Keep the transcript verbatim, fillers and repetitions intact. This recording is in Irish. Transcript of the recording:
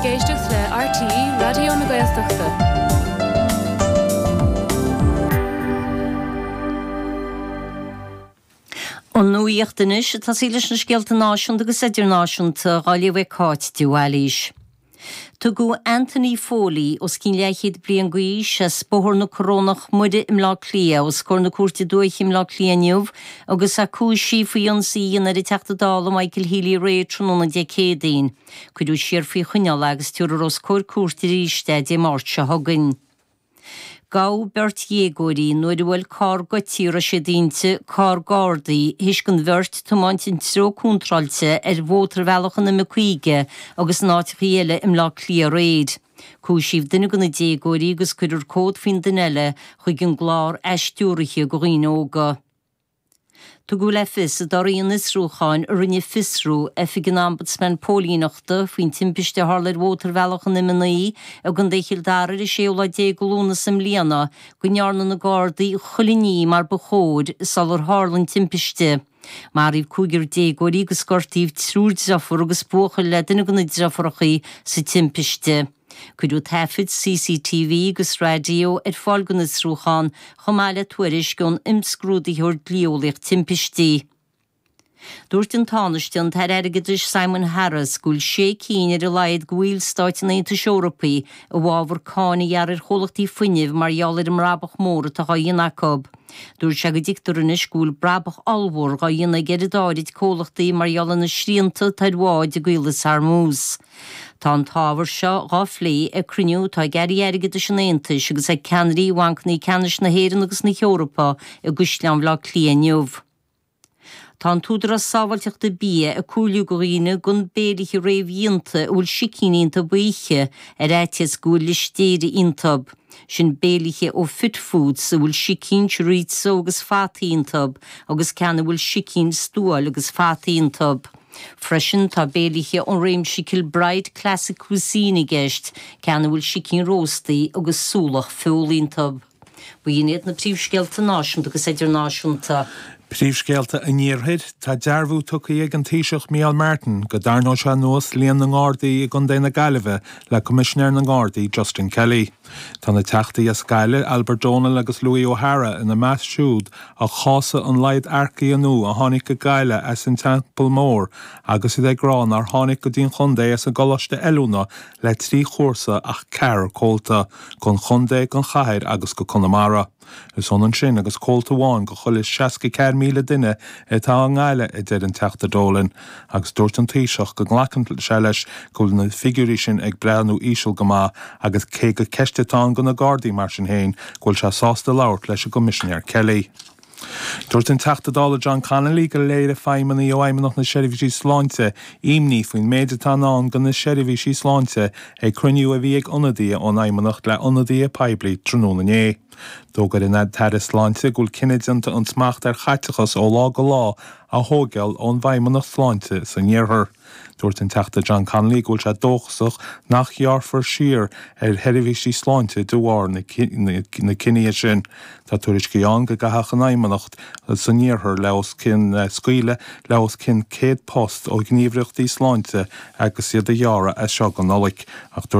Ag éisteacht le RTÉ Raidió na Gaeltachta. An nuacht anois ag tosaí leis na scéalta náisiúnta agus idirnáisiúnta á léamh ag Cáit de Bhailís. Tugadh Anthony Foley os cionn leathchéad bliain d'aois as Bóthar na Corónach Muire i mBleá Cliath os comhair na Cúirte Dúiche i mBleá Cliath inniu agus é cúisithe faoi ionsaí a dhéanamh ar an Teachta Dála Michael Healy-Rae tráthnóna Dé Céadaoin. Cuireadh siar faoi choinneáil é agus tabharfar os comhair cúirte arís é Dé Máirt seo chugainn. Gabhadh beirt dhéagóirí nuair a bhuail carr goidte a raibh siad inti carr Gardaí théis don bheirt tiomáint an treo contráilte ar mhótarbhealach an M caoga agus in áiteachaí eile i mBleá Cliath aréir. Cúisíodh duine de na déagóirí agus cuirfear comhad faoin duine eile chuig an gclár athstiúraithe do dhaoine óga. Tugadh le fios i dtorthaí an fhiosrúcháin a rinne Fiosrú, Oifig an Ombudsman Póilíneachta, faoin timpiste a tharla ar mhótarbhealach an M naoi i gContae Chill Dara ar an séú lá déag de Lúnasa i mbliana, go ndearna na Gardaí chuile ní mar ba chóir sular tharla an timpiste. Maraíodh cúigear déagóirí agus gortaíodh triúr deirfiúr agus buachaill le duine de na deirfiúracha sa timpiste. Cuireadh taifid CCTV agus raidió ar fáil don fhiosrúchán chomh maith le tuairisc ón imscrúdaitheoir dlí-eolaíoch timpistí. Dúirt an Tánaiste, an tAire Airgeadais Simon Harris go bhfuil sé cinn ar a laghad de bhallstáit an Aontais Eorpaigh i bhfabhar cáin a ghearradh ar chomhlachtaí fuinnimh mar gheall ar an mbrabach mór atá á dhéanamh acu. Dúirt sé go dtuigtear anois go bhfuil brabach ollmhór á dhéanamh ag oiread áirid comhlachtaí mar gheall ar na srianta atá ar bháid i gCaolas Hormuz. Tá an t-ábhar seo dhá phlé ag cruinniú atá ag airí airgeadais an Aontais agus ag ceannairí bhancanna ceannais na hÉireann agus na hEorpa i gCaisleán Bhaile Átha Cliath inniu. Tá an tÚdarás Sábháilteachta Bia ag comhairliú do dhaoine gan béilithe réamhdhéanta a bhfuil sicín iontu a ithe ar fhaitíos go bhfuil listéiria iontu. Sin béilithe ó Fit Foods a bhfuil sicín, chorizo agus fataí iontu agus ceann a bhfuil sicín, stuáil agus fataí iontu. Freisin tá béilithe ón réimse Kilbride Classic Cuisine i gceist, ceann a bhfuil sicín róstaí agus súlach feola iontu. B'in iad na príomhscéalta náisiúnta agus idirnáisiúnta. Príomhscéalta an Iarthair, tá dearbhú tugtha ag an Taoiseach Micheál Martin go dtarraingeoidh sé anuas líon na nGardaí i gContae na Gaillimhe le Coimisinéir na nGardaí Justin Kelly. Tá na teachtaí as Gaillimh, Albert Donal agus Louis O'Hara ina measc siúd a chásaigh an laghad earcaithe nua a tháinig go Gaillimh as an Teampall Mór agus iad ag rá nár tháinig go dtí an chontae as an gColáiste Oiliúna le trí chúrsa ach ceathrar comhalta, don chontae, don chathair agus go Conamara. Is ionann sin agus comhalta amháin go chuile seasca ceathair míle duine atá i nGaillimh, a deir an Teachta Dolan, agus dúirt an Taoiseach go nglacann sé leis go bhfuil na figiúirí sin ag breathnú íseal go maith agus cé gur ceist atá ann do na Gardaí mar sin féin go bhfuil sé sásta labhairt leis an gCoimisinéir Kelly. Dúirt an Teachta Dála John Connolly gur léirigh feidhmeannaigh ó Fheidhmeannacht na Seirbhísí Sláinte imní faoin méid atá i ndán do na seirbhísí sláinte ag cruinniú a bhí ag ionadaithe ón Fheidhmeannacht le hionadaithe poiblí tráthnóna inné. D'fhógair an tAire Sláinte go bhfuil cinneadh déanta an smacht ar chaiteachas ó lá go lá a thógáil ón bhFeidhmeannacht Sláinte san iarthar. Dúirt an Teachta John Connolly go bhfuil sé dóchasach nach ghearrfar siar ar sheirbhísí sláinte de bharr na cinnidh sin. Tá tuairiscí ann go gcaithfeadh an Fheidhmeannacht san iarthar le os cionn scaoileadh le os cionn céad post ó ghníomhaireachtaí sláinte agus iad a ghearradh as seo go Nollaig. Ach dúirt